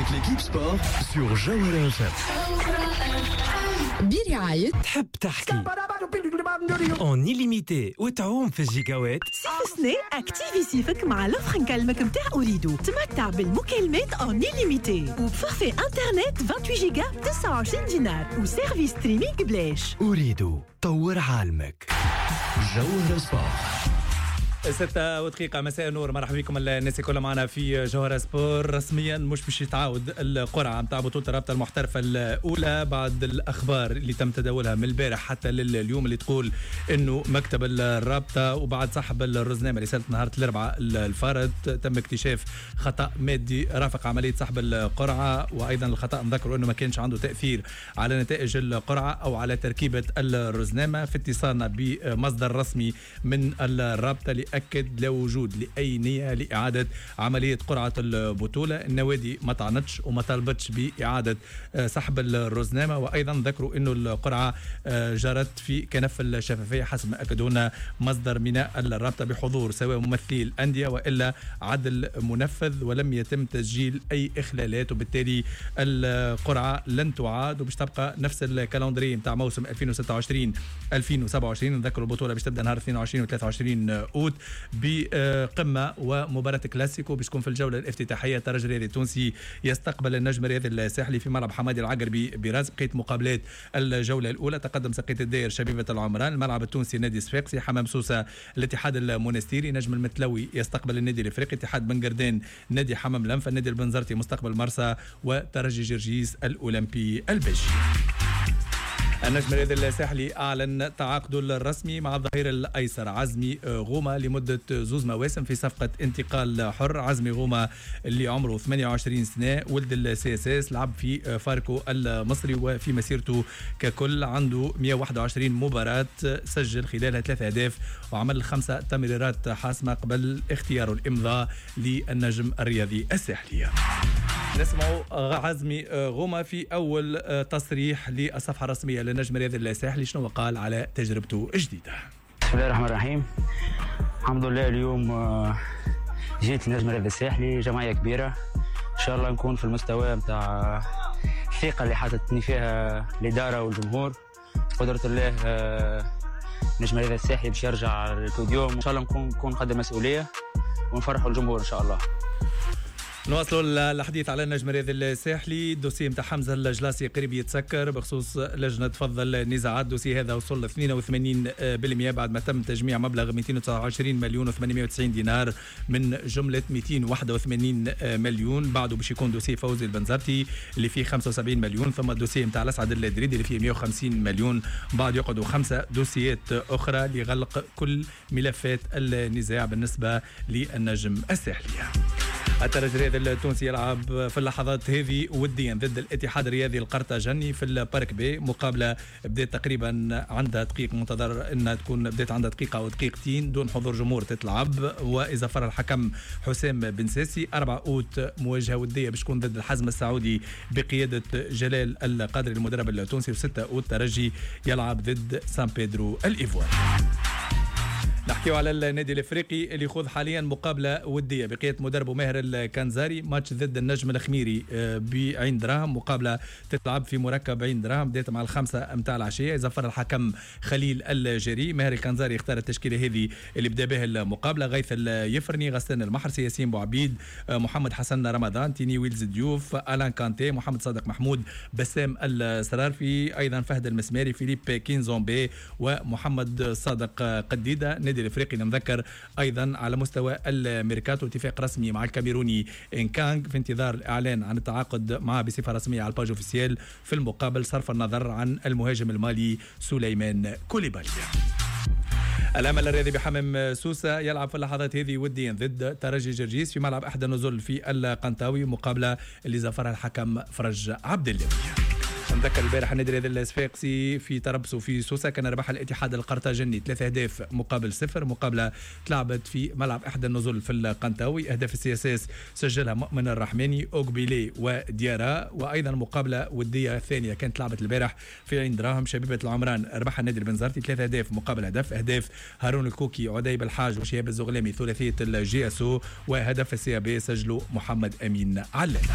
Avec l'équipe sport sur Jawhara FM. برعاية تحب تحكي en illimité وتعوم في الجيجاوات. صيف سنة activi صيفك مع l'offre نكلمك متاع أوريدو، تمتع بالمكالمات en illimité وب forfait internet 28 جيجا ب 29 دينار و service streaming بلاش. أوريدو، طور عالمك. جوهرة سبور. 6 ودقيقة، مساء النور، مرحبا بكم الناس الكل معنا في جوهرة سبور. رسميا مش باش يتعاود القرعة نتاع بطولة الرابطة المحترفة الأولى، بعد الأخبار اللي تم تداولها من البارح حتى لليوم، اللي تقول إنه مكتب الرابطة وبعد سحب الرزنامة اللي صارت نهار الأربعاء الفارط تم اكتشاف خطأ مادي رافق عملية سحب القرعة. وأيضا الخطأ نذكر أنه ما كانش عنده تأثير على نتائج القرعة أو على تركيبة الرزنامة. في اتصالنا بمصدر رسمي من الرابطة اللي أكد لا وجود لأي نية لإعادة عملية قرعة البطولة. النوادي ما طعنتش وما طالبتش بإعادة سحب الرزنامة، وأيضا ذكروا أنه القرعة جرت في كنف الشفافية حسب ما أكدوا لنا مصدر من الرابطة، بحضور سواء ممثلي الأندية وإلا عدل منفذ، ولم يتم تسجيل أي إخلالات، وبالتالي القرعة لن تعاد وباش تبقى نفس ال calendrier نتاع موسم 2026 2027. نذكروا البطولة باش تبدا نهار 22 و 23 أوت بقمة ومباراة كلاسيكو باش تكون في الجولة الافتتاحية، الترجي الرياضي التونسي يستقبل النجم الرياضي الساحلي في ملعب حمادي العقربي برادس. بقية مقابلات الجولة الأولى: تقدم ساقية الداير شبيبة العمران، الملعب التونسي نادي صفاقسي، حمام سوسة الاتحاد المونستيري، نجم المتلوي يستقبل النادي الافريقي، اتحاد بنقردان نادي حمام الأنف، النادي البنزرتي مستقبل مرسى، وترجي جرجيس الأولمبي الباجي. النجم الرياضي الساحلي أعلن تعاقده الرسمي مع الظهير الأيسر عزمي غومة لمدة زوز مواسم في صفقة انتقال حر. عزمي غومة اللي عمره 28 سنة، ولد ال CSS، لعب في فاركو المصري، وفي مسيرته ككل عنده 121 مباراة سجل خلالها 3 أهداف وعمل 5 تمريرات حاسمة قبل اختياره الإمضاء للنجم الرياضي الساحلي. نسمع عزمي غومة في أول تصريح للصفحة الرسمية للنجم الرياضي الساحلي، شنو قال على تجربته الجديدة. بسم الله الرحمن الرحيم، الحمد لله، اليوم جيت النجم الرياضي الساحلي، جمعية كبيرة، إن شاء الله نكون في المستوى نتاع الثقة اللي حاطتني فيها الإدارة والجمهور. قدرة الله نجم الرياضي الساحلي باش يرجع للبوديوم، إن شاء الله نكون قد المسؤولية ونفرحوا الجمهور إن شاء الله. نواصلوا الحديث على النجم الرياضي الساحلي. ال dossier نتاع حمزة الجلاسي قريب يتسكر بخصوص لجنة فض النزاعات. ال dossier هذا وصل 82% بعد ما تم تجميع مبلغ 229 مليون و890 دينار من جملة 281 مليون. بعده باش يكون dossier فوزي البنزرتي اللي فيه 75 مليون، ثم ال dossier نتاع الاسعد الدريدي اللي فيه 150 مليون. بعد يقعدوا 5 دوسيات اخرى لغلق كل ملفات النزاع بالنسبة للنجم الساحلي. الترجي الرياضي التونسي يلعب في اللحظات هذه وديا ضد الاتحاد الرياضي القرطاجني في ال parc B. مقابله بدات تقريبا عندها دقيق، منتظر انها تكون بدات عندها دقيقة او دقيقتين، دون حضور جمهور تتلعب وإذا الحكم حسام بن ساسي. 4 اوت مواجهة وديه باش تكون ضد الحزم السعودي بقيادة جلال القادري المدرب التونسي، و6 اوت ترجي يلعب ضد سان بيدرو الايفواري. نحكيو على النادي الافريقي اللي يخوض حاليا مقابله وديه بقيادة مدربه ماهر الكنزاري، ماتش ضد النجم الخميري بعين دراهم. مقابله تتلعب في مركب عين دراهم، بدات مع 5 متاع العشيه، يزفر الحكم خليل الجري. ماهر الكنزاري اختار التشكيلة هذه اللي بدا بها المقابله: غيث اليفرني، غسان المحرسي، ياسين بوعبيد، محمد حسن رمضان، تيني ويلز ديوف، الان كانتي، محمد صادق محمود، بسام السرارفي، ايضا فهد المسماري، فيليب كينزومبي ومحمد صادق قديده. النادي الافريقي نذكر ايضا على مستوى الميركاتو اتفاق رسمي مع الكاميروني انكانغ، في انتظار الاعلان عن التعاقد معه بصفة رسمية على ال page officielle، في المقابل صرف النظر عن المهاجم المالي سليمان كوليبالي. الامل الرياضي بحمام سوسة يلعب في اللحظات هذه وديا ضد ترجي جرجيس في ملعب احدى النزل في القنطاوي، مقابله اللي زفرها الحكم فرج عبد الله. نذكر البارح النادي الرياضي الصفاقسي في تربصه في سوسة كان ربح الاتحاد القرطاجني 3 اهداف مقابل 0، مقابله تلعبت في ملعب احدى النزل في القنطاوي. اهداف ال CSS سجلها مؤمن الرحماني، اوغبيلي وديارا. وايضا مقابله وديه ثانية كانت لعبت البارح في عين دراهم، شبيبة العمران ربح النادي البنزرتي 3 اهداف مقابل هدف، اهداف هارون الكوكي، عدي بالحاج وشهاب الزغلامي ثلاثية ال JSO، وهدف ال CAB سجله محمد امين علال.